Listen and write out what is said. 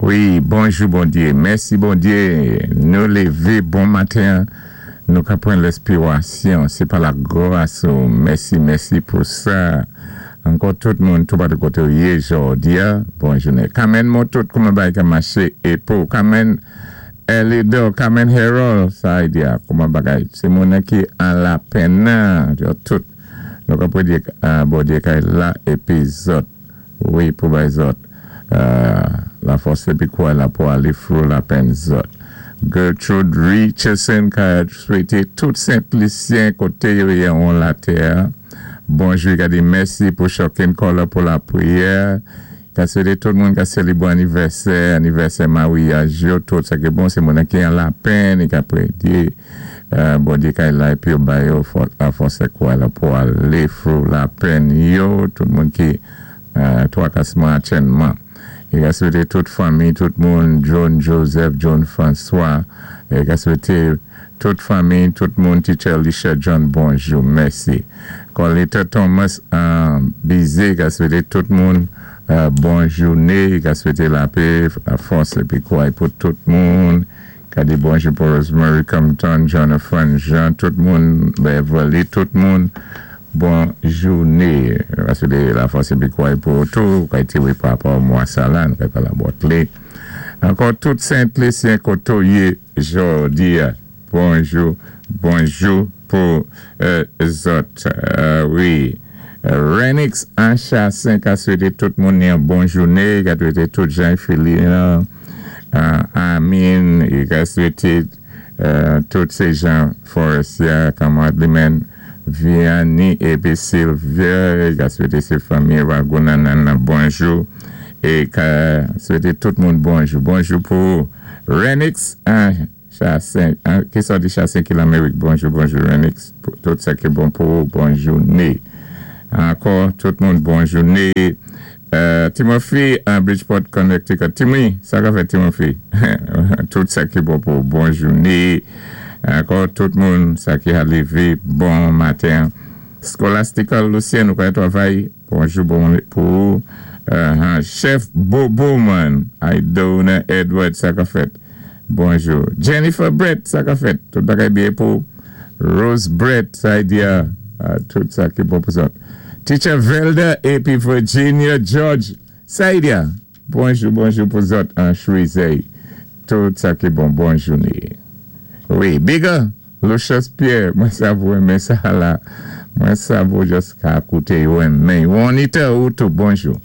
Wi, bonjou Bondyé, mèsi Bondyé, nou lévé bon maten, nou ka pran lèspirasyon, sé pa lagras ou, mèsi, mèsi pou sa. Ankò tout moun toupatou koté ou yé jòdi-a, bon jounen. Kamèn Motout, kouman bagay ka maché é pou Kamèn Elidor, Kamèn Harold, sa ay di-a, kouman bagay, sé moun ki an lapenn nan, yo tout, nou ka pwédyé Bondyé kay la épi zòt, wi, pou bay zòt lafòs épi kouray la pou alé through lapenn zòt. Gertrude Richardson ka swété tout Sent Lisyen koté yo yé an latè bonjou, ka di mèsi pou Shocking Color pou lapriyè, ka swété tout moun ka sélébwé anivèsè, anivèsè maryaj yo, tout sa ki bon, sé moun ki an lapenn, ka pwédyé Bondyé kay la épi yo ba yo lafòs é kouray la pou alé through lapenn yo, tout moun ki twakasman achènman. É ka swété tout fanmi, tout moun, John Joseph, John François, é ka swété tout fanmi, tout moun, Teacher Alicia John, bonjou, mèsi. Colita Thomas Bizé, ka swété tout moun bon jouné, ka swété lapè, lafòs épi kouray pou tout moun. Ka di bonjou pou Rosemary Compton, Jonathan Jean, tout moun, Beverly, tout moun, bon jouné. Ka swété lafòs épi kouray pou tou, ka té wé pa rapò mwa sa la, nou ka palé about li. Ankò tout Sent Lisyen koté ou yé jòdi-a, bonjou, bonjou pou zòt. Wi. Renix Anchasin ka swété tout moun yon bon jouné, ka swété tout Jean Philin, Amin, ka swété tout sé Jean Forestier, kanmarad li menm, Vianney épi Sylvia, ka swété sé fanmi Ragunanan bonjou, é ka swété tout moun bonjou. Bonjou pou Renix Chassin, ki sòti Chassin ki Lamérik, bonjou, bonjou Renix, tout sa ki bon pou bon jouné. Ankò, tout moun bon jouné. Timothy an Bridgeport, Connecticut. Timmy, sa ka fèt Timothy? Tout sa ki bon pou bon jouné. Ankò, tout moun, sa ki a lévé, bon maten. Scholastical Lucien, nou ka travay. Bonjou bon pou Chef Bobo man. Idona Edward, sa ka fèt. Bonjou. Jennifer Brett, sa ka fèt. Tout bagay byen pou Rose Brett, sa y di a, tout sa ki bon pou sa. Teacher Velda épi Virginia George, sa y di a. Bonjou, bonjou pou zòt an Choisey. Tout sa ki bon, bon jouné. Wi, Bigger, Lucius Pierre, mwen sav ou renmen sa la. Mwen sav ou just ka kouté yo renmen. Juanita ou tou, bonjou.